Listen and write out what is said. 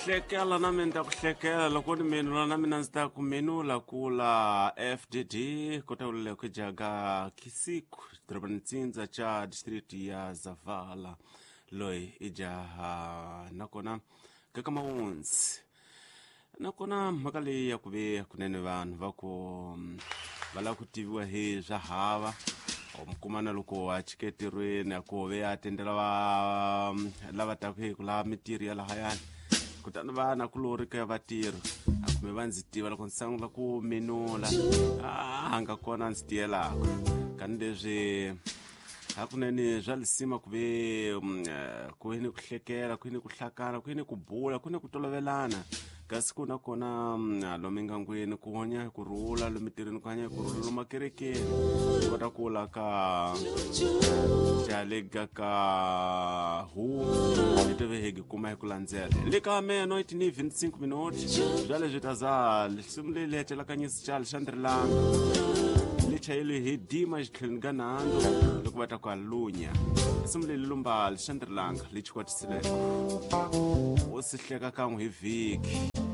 Hlekela na mina ni ta ku hlekela loko ni menula na mina ndzi ta ku menula kula FDD kota ulele ku jaga Kisiku dorobani tsindza cha district ya Zavala loyi i jaha nakona kaka mawunzi nakona mhaka leyi ya ku ve kunene vanhu va ku va lava ku tiviwa hi swa hava mi kuma na loko a chike entirhweni a ku ve a tendela va lava taka hi ku lava mintirho ya lahayani kutani vana kulori ka vatirhi a kumbe va ndzi tiva loko ndzi sungula ku minula a nga kona ndzi tiyelaka kani leswi hakunene swa lisima ku ve ku ni ku hlekela ku ni ku hlakana ku ni ku bula ku ni ku tolovelana kasi ku na kona lomu engangwini ku hanya hi ku rhula lomu tirhweni ku hanya hi ku rhula lomu akerekeni ku kota ku la ka jalega ka hu ni tive hi kuma hi ku landzela le ka meno i tini 25 minuti bya leswi ta za lisimu leyi li hetelakanyisi xa lixandrilanga li chayeliwe hi dima xitlhelweni ka nando loko va ta ku alunya risimu leyi lumba lixandrilanga li chikwatisileko u si hleka kan'we hi vhiki.